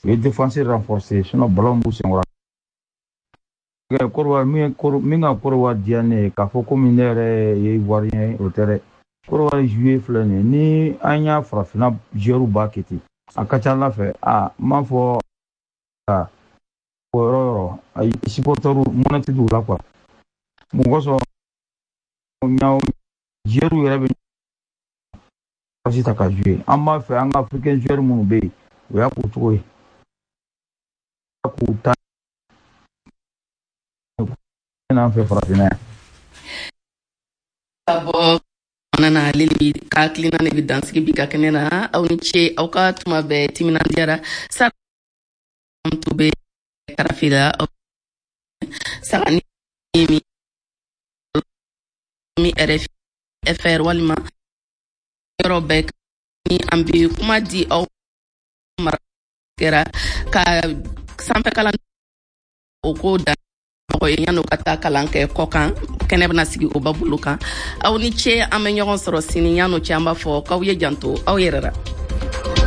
U ye défense renforcer, sinon ballon b'u senkɔrɔ. Côte d'Ivoire min min ka Côte d'Ivoire diya ne ye k'a fɔ komi ne yɛrɛ ye Ivoirien ye, o tɛ dɛ. Côte d'Ivoire jouer filɛ nin ye, ni an y'a farafinna joueur b'a kɛ ten, a ka ca Ala fɛ, a n b'a fɔ o yɔrɔ yɔrɔ ayi, supporter mɔnɛ tɛ don u la quoi. Mun kosɔn ɲaw joueur yɛrɛ bɛ ta ka jouer? An b'a fɛ an ka africain joueur minnu bɛ yen, o y'a k'o cogo ye k'u ta n'an fɛ farafinna yan. Ka bɔ na, ale bi ka hakilina de bɛ dansigi bi ka kɛnɛ na. Aw ni ce, aw ka tuma bɛɛ timinandiyara sa to bɛ karafe la aw saga ni mi RFR walima yɔrɔ bɛɛ ni an bɛ kuma di aw mara kɛra ka sanfɛ kalan o ko dan mɔgɔ ye yan'o ka taa kalan kɛ kɔ kan. Kɛnɛ bɛna sigi o ba bolo kan. Aw ni ce, an bɛ ɲɔgɔn sɔrɔ sini. Yan'o cɛ, an b'a fɔ k'aw ye janto aw yɛrɛ la.